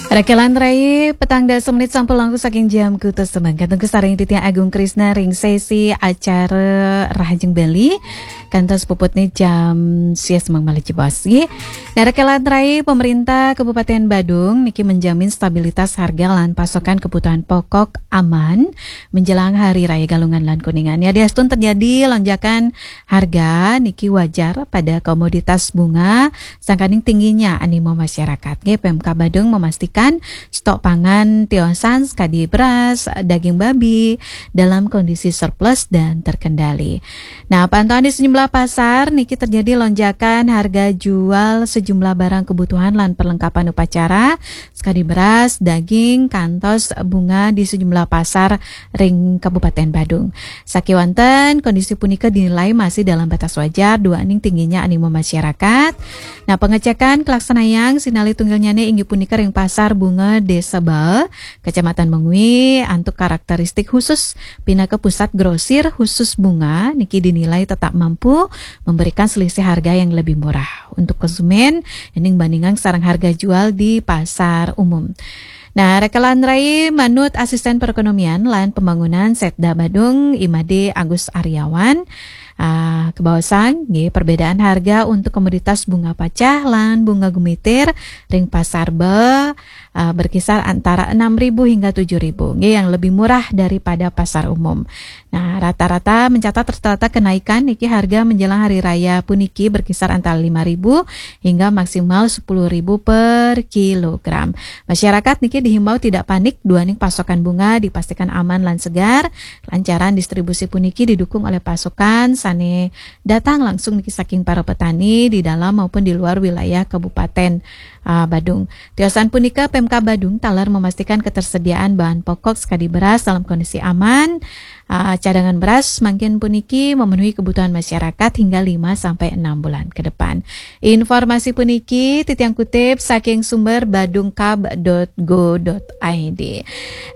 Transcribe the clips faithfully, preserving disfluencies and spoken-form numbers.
Rakelan rai, petang dasa menit sampun langkung saking jam kutus semangkat. Tunggu sareng Titiang Agung Krisna ring sesi acara Rahajeng Bali. Kantos puputne jam sia semeng malih jebos, nggih. Nah, rakelan rai, pemerintah Kabupaten Badung niki menjamin stabilitas harga lan pasokan kebutuhan pokok aman menjelang Hari Raya Galungan lan Kuningan. Yadiastun terjadi lonjakan harga niki wajar pada komoditas bunga, sangkaning tingginya animo masyarakat. Nggih, Pemkab Badung memastikan stok pangan tiosan sekadi beras, daging babi dalam kondisi surplus dan terkendali. Nah, pantauan di sejumlah pasar niki terjadi lonjakan harga jual sejumlah barang kebutuhan lan perlengkapan upacara, sekadi beras, daging, kantos bunga di sejumlah pasar ring Kabupaten Badung. Sakewanten, kondisi punika dinilai masih dalam batas wajar, duaning tingginya animo masyarakat. Nah, pengecekan kalaksanayang sinalih tunggilnyane inggih punika ring Pasar Bunga Desa Bae, Kecamatan Mengwi, antuk karakteristik khusus pinaka pusat grosir khusus bunga niki dinilai tetap mampu memberikan selisih harga yang lebih murah untuk konsumen, ening bandingang sareng harga jual di pasar umum. Nah, rakelan rai, manut Asisten Perekonomian lan Pembangunan Setda Badung, I Made Agus Aryawan, ah, kabaosang, nggih, perbedaan harga untuk komoditas bunga pacah lan bunga gumitir ring Pasar Bae, ah, berkisar antara enam ribu hingga tujuh ribu, nggih, yang lebih murah daripada pasar umum. Nah, rata-rata mencatat rata-rata kenaikan niki harga menjelang hari raya puniki berkisar antara lima ribu hingga maksimal sepuluh ribu per kilogram. Masyarakat niki dihimbau tidak panik, duaning pasokan bunga dipastikan aman lan segar, lancaran distribusi puniki didukung oleh pasokan sane datang langsung niki saking para petani di dalam maupun di luar wilayah Kabupaten, ah, Badung. Tiosan punika, Pemkab Badung taler memastikan ketersediaan bahan pokok sekadi beras dalam kondisi aman. Ah, cadangan beras mangkin puniki memenuhi kebutuhan masyarakat hingga lima sampai enam bulan ke depan. Informasi puniki titiang kutip saking sumber badungkab dot go dot I D.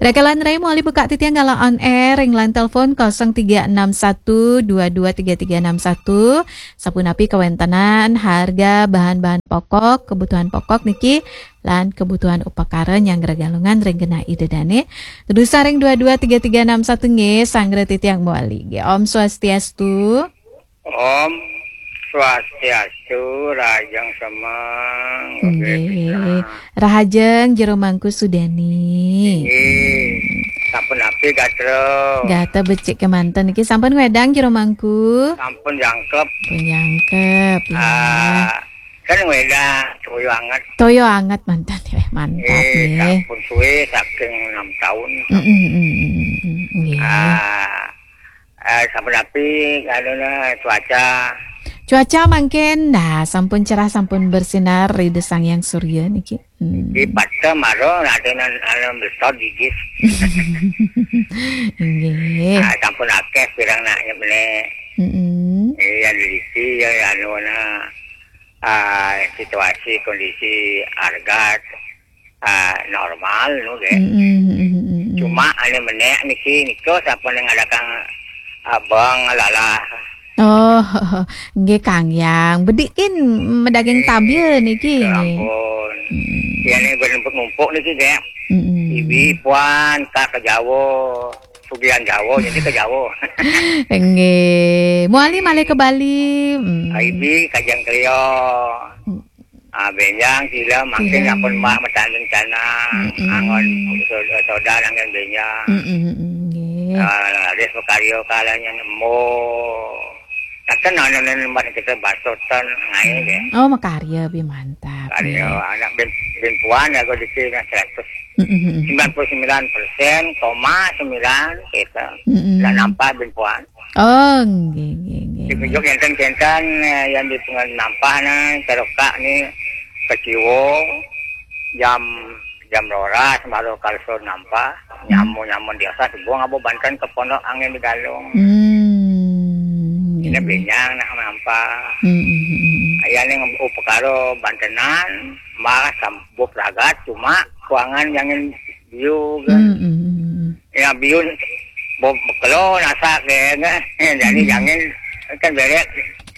Rakelan rai, malih buka titiang galah on air ring line telepon kosong tiga enam satu dua dua tiga tiga enam satu. Sapunapi kawentenan harga bahan-bahan pokok, kebutuhan pokok niki, lan kebutuhan upakara nyanggra Galungan ring genah Ida Dane. Tedusa ring dua dua tiga tiga enam satu nggih, sanggra titiang mawali nggih. Om Swastiastu. Om Swastiastu, rahajeng semeng. Nggih. Rahajeng Jero Mangku Sudani. Nggih. Sapunapi gatra? Gatra becik kemanten niki, sampun wedang Jero Mangku? Sampun jangkep. Pun jangkep, ya. Ah, kan wedang toya anget. Toya anget manten, eh, mantap, nggih, nggih. Sampun suwe saking enam tahun. Mm, mm, mm, mm, mm, nggih. Ah, eh, sapunapi anuna cuaca? Cuaca mangkin, nah, sampun cerah, sampun bersinar Ida Sang Hyang Surya niki. Hmm. Di pata maro radenan anu besar gigis. Nggih. Ah, sampun akeh pirang nak nyepne. Mm-mm. Iya, lisi ya, anu na, ah, situasi kondisi harga, ah, normal nu, nggih. Mm-mm, mm-mm, mm-mm. Cuma anu menek niki, nika sapa ning ngadakang abang lalah. Oh, nggih, Kang Yang. Bedikin medaging, eh, tabia niki, ya nggih. Ampun. Mm-mm. Ya, ning ngumpuk-ngumpuk niki, nggih. Mm-mm. Ibi puan ka, ka Jawa. Sugihan Jawa, jadi ka Jawa. Nggih. Mawali malih ka Bali. Mm. Ibi kajeng Kelio. Mm. Ah, benjang sila mangkin. Sila. Sampun mak matanding canang, mm-mm, angon so-, soda nanggen benjang. Mm-mm, mm-mm, nggih. Ah, raris pakarya kalanya nemu. Taken ana nembak kita basotan ngae, nggih. Oh, makarya bi mantap, karya, nggih. Anak bin, bin puan ya, kok di sini seratus. Mm-mm, mm-mm. Sembilan puluh sembilan persen koma sembilan kita. Mm-mm. Lah nampak bin puan. Oh, nggih, nggih, nggih, nggih. Ditunjuk enten-enten, eh, yang dipungan nampah nah, terokak ni keciwo jam, jam roras baru kalsur nampah. Hmm. Nyamu-nyamu di atas, buang abu banten ke pondok angin di galung. Hmm, nggih, nggih. Ini benyang nak nampah. Hmm, hmm, hmm, hmm, hmm. Ayah ni upakara bantenan, malah sambup ragat, cuma kuangan jangan biu kan. Hmm, hmm, hmm, hmm. Ya, biu bo-, bekelo nasak deh, kan. Jadi, hmm, jangan kan berek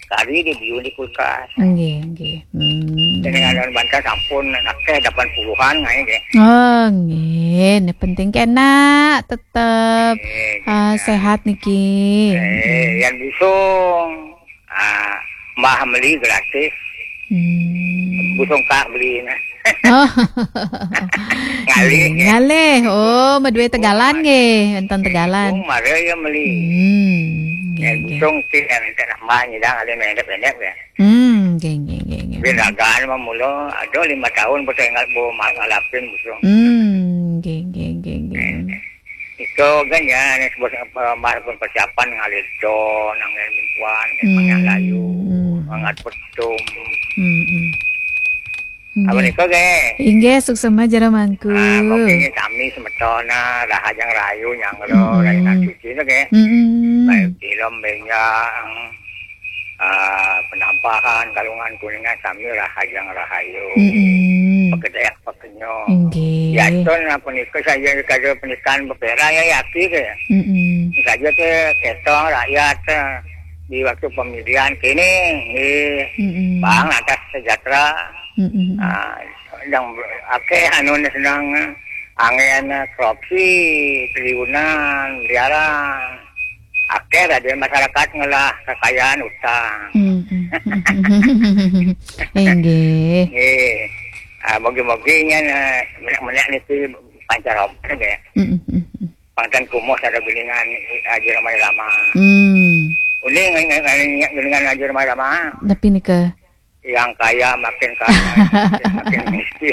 kari di biu di kulkas. Nggih, nggih. Hmm. Jenengan banten sampun akéh delapan puluhan nggih. Oh, nggih. Ini penting kena tetep, eh, sehat niki. Eh, yang busung, ah, Mbah meli gratis. Hmm. Busung kak beli nah. Oh. Ngalih, ya. Ngalih. Oh, madué tegalan nggih, enten tegalan. Oh, mare ya meli. Hmm, nggih, nggih. Busung sih yang enten Mbah nyidang ada pendek-pendek ya. Hmm, nggih, nggih, nggih, nggih. Bin ragaan mah mula ada lima tahun pas ingat bu ngalapin busung. Hmm, nggih, nggih, nggih, nggih. Itu kan ya, ini sebuah, eh, Mbah pun persiapan ngalih don, angin mingkuan, hmm, layu, hmm, mangat petum. Hmm, hmm. Apa nggih. Nika, nggih? Inggih, suksema jero mangku. Ah, kopinya sami semeton, ah, rahajeng rahayu nyanggra, hmm, rahayu suci, nggih. Hmm. Baik film, benjang, ah, penampahan, kalungan kuningan sami rahajeng rahayu. Hmm. Pekedek, pekenyong. Inggih. Yatun, ah, punika saja kada pernikahan bepera ya, yaki, nggih. Hmm. Saja téh ketong rakyat, eh, di waktu pemilihan kini, nggih. Hmm. Bang atas sejahtera. Mm-mm. Ah, yang akéh anu sedang angin korupsi, triliunan, miliaran. Akéh tadi masyarakat ngelah kekayaan utang. Mm-mm. Inggih. Nggih. Ah, mogi-mogi nya, eh, menek-menek niki pancar obat ya. Mm-mm. Pangtan kumuh ada geningan Haji Rhoma Irama. Hmm. Uning geningan Haji Rhoma Irama. Tapi nika yang kaya makin kaya, makin miskin.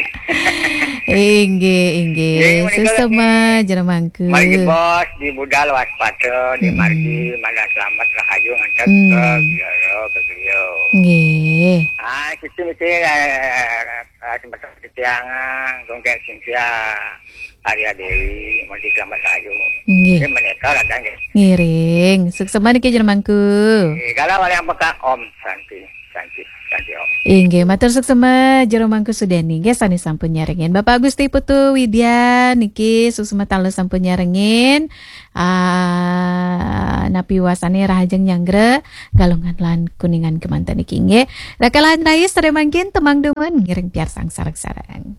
Inggih, inggih. Nggih, menika suksema jero mangku. Margi bos di budal waspada, di margi mana selamat rahayu ngantos ka biara, ka griya. Nggih. Ah, situ mesti, eh, eh, sempat titiang, ah, Gung Dék Cynthia, Arya Dewi, mesti selamat rahayu. Nggih. Nggih, menika kadang nggih. Ngiring. Suksema niki jero mangku. Nggih, kalau yang peka Om Santi. Santi, Santi, Om. Inggih, matur suksema jero mangku Sudeni nggih sané sampun nyarengin. Bapak Gusti Putu Widya niki suksema taler sampun nyarengin. Ah, napi wasané rahajeng nyanggra Galungan lan Kuningan kemanten niki nggih. Rakalan rayi sadaya mangkin temang dumun ngiring piarsang sareng-sareng.